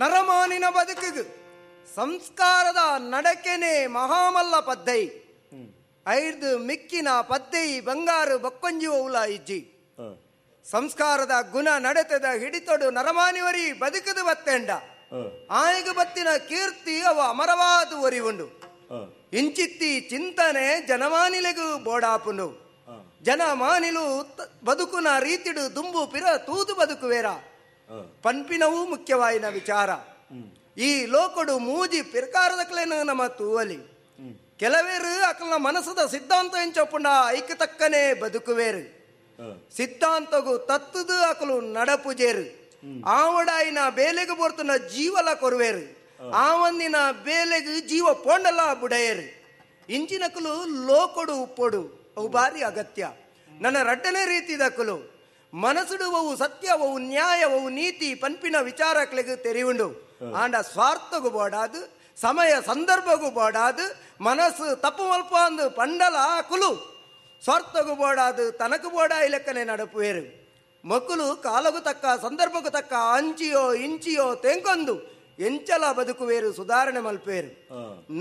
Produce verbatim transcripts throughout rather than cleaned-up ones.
ನರಮಾನಿನ ಬದುಕಿಗೆ ಸಂಸ್ಕಾರದ ನಡಕೆನೆ ಮಹಾಮಲ್ಲ ಪದ್ದೈ. ಐದು ಮಿಕ್ಕಿನ ಪದ್ದೈ ಬಂಗಾರು ಬಕ್ಕೊಂಜಿ ಓಲ ಇಜ್ಜಿ. ಸಂಸ್ಕಾರದ ಗುಣ ನಡೆತದ ಹಿಡಿತೊಡು ನರಮಾನಿವರಿ ಬದುಕದು ಬತ್ತೆಂಡ ಆಯಗ ಬತ್ತಿನ ಕೀರ್ತಿ ಅವ ಅಮರವಾದ ಒರಿವುಂಡು. ಇಂಚಿತ್ತಿ ಚಿಂತನೆ ಜನಮಾನಿಲೆಗೂ ಬೋಡಾಪುಂಡು. ಜನಮಾನಿಲು ಬದುಕುನ ರೀತಿಡು ದುಂಬು ಪಿರ ತೂದು ಬದುಕುವೇರ ಪನ್ಪಿನವೂ ಮುಖ್ಯವಾಯಿನ ವಿಚಾರ. ಈ ಲೋಕಡು ಮೂಜಿ ಪಿರ್ಕಾರದಕ್ಲೇನು ನಮ್ಮ ತೂವಲಿ. ಕೆಲವೇರು ಅಕಲ್ನ ಮನಸ್ಸದ ಸಿದ್ಧಾಂತ ಎಂಚೊಪ್ಪುಂಡ ಐಕ ತಕ್ಕನೆ ಬದುಕುವೇರು. ಸಿದ್ಧಾಂತಗು ತತ್ತದು ಅಕಲು ನಡಪುಜೇರು. ಆವಡಾಯಿನ ಬೇಲೆಗೆ ಬೋರ್ತುನ ಜೀವಲ ಕೊರುವೇರು. ಆವಂದಿನ ಬೇಲೆಗೆ ಜೀವ ಪೋಂಡಲ ಬುಡಯರು. ಇಂಚಿನಕಲು ಲೋಕೊಡು ಉಪ್ಪೊಡು ಅವು ಭಾರಿ ಅಗತ್ಯ. ನನ್ನ ರಡ್ಡನೇ ರೀತಿದಕಲು ಮನಸ್ಸುಡುವವು ಸತ್ಯವವು ನ್ಯಾಯವವು ನೀತಿ ಪನ್ಪಿನ ವಿಚಾರಕ್ಲೆಗೆ ತೆರಿವುಂಡು. ಆಂಡ ಸ್ವಾರ್ಥಗೂ ಬೋಡಾದು ಸಮಯ ಸಂದರ್ಭಗೂ ಬೋಡಾದು ಮನಸ್ಸು ತಪ್ಪು ಮಲ್ಪ ಅಂದು ಪಂಡಲ ಕುಲು ಸ್ವಾರ್ಥಗೂ ಬೋಡಾದು ತನಕು ಬೋಡ ಇಲೆಕ್ಕನೆ ನಡಪುವೇರು. ಮಕ್ಕಳು ಕಾಲಗೂ ತಕ್ಕ ಸಂದರ್ಭಕ್ಕೂ ತಕ್ಕ ಅಂಚಿಯೋ ಇಂಚಿಯೋ ತೆಂಕೊಂದು ಎಂಚಲ ಬದುಕುವೇರು, ಸುಧಾರಣೆ ಮಲ್ಪೇರು.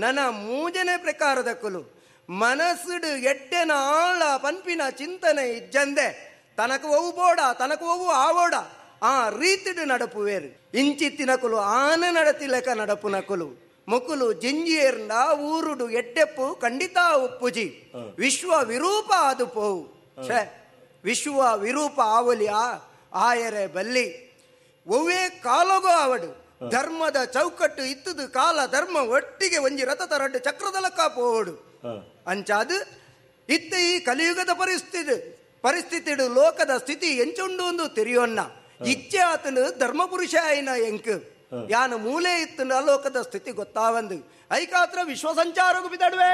ನನ್ನ ಮೂಜನೆ ಪ್ರಕಾರದ ಕುಲು ಮನಸ್ಸುಡು ಎಡ್ಡೆನ ಆಳ ಪನ್ಪಿನ ಚಿಂತನೆ ಇಜ್ಜಂದೆ ತನಕು ಒವು ಬೋಡ ತನಕು ಒವು ಆವೋಡ ಆ ರೀತಿಡು ನಡಪುವೇರು. ಇಂಚಿತ್ತಿನ ಕುಲು ಆನ ನಡತಿಲೆಕ ನಡಪುನ ಕುಲು ಮುಕುಲು ಜಿಂಜಿಯೇರ್ನ ಊರುಡು ಎಡ್ಡೆಪ್ಪು ಖಂಡಿತ ಉಪ್ಪುಜಿ. ವಿಶ್ವ ವಿರೂಪ ಅದು ಪೋವು. ಛೇ, ವಿಶ್ವ ವಿರೂಪ ಆವಲಿಯ ಆಯರೆ ಬಲ್ಲಿ ಒವ್ವೇ ಕಾಲಗೋ ಆವಡು ಧರ್ಮದ ಚೌಕಟ್ಟು ಇತ್ತದು ಕಾಲ ಧರ್ಮ ಒಟ್ಟಿಗೆ ಒಂಜಿ ರಥ ತರಡ್ಡು ಚಕ್ರದಲಕ್ಕ ಪೋವಡು. ಅಂಚಾದು ಇತ್ತ ಈ ಕಲಿಯುಗದ ಪರಿಸ್ಥಿತಿ ಪರಿಸ್ಥಿತಿಡು ಲೋಕದ ಸ್ಥಿತಿ ಎಂಚುಂಡು ಒಂದು ತೆರಿಯೊನ್ನ ಇಚ್ಛೆ ಆತನು ಧರ್ಮಪುರುಷ ಆಯಿನ ಎಂಕ್ ಯಾನು ಮೂಲೆ ಇತ್ತು ಲೋಕದ ಸ್ಥಿತಿ ಗೊತ್ತಾವಂದು ಐಕಾತ್ರ ವಿಶ್ವ ಸಂಚಾರಗೂ ಬಿದಡುವೆ.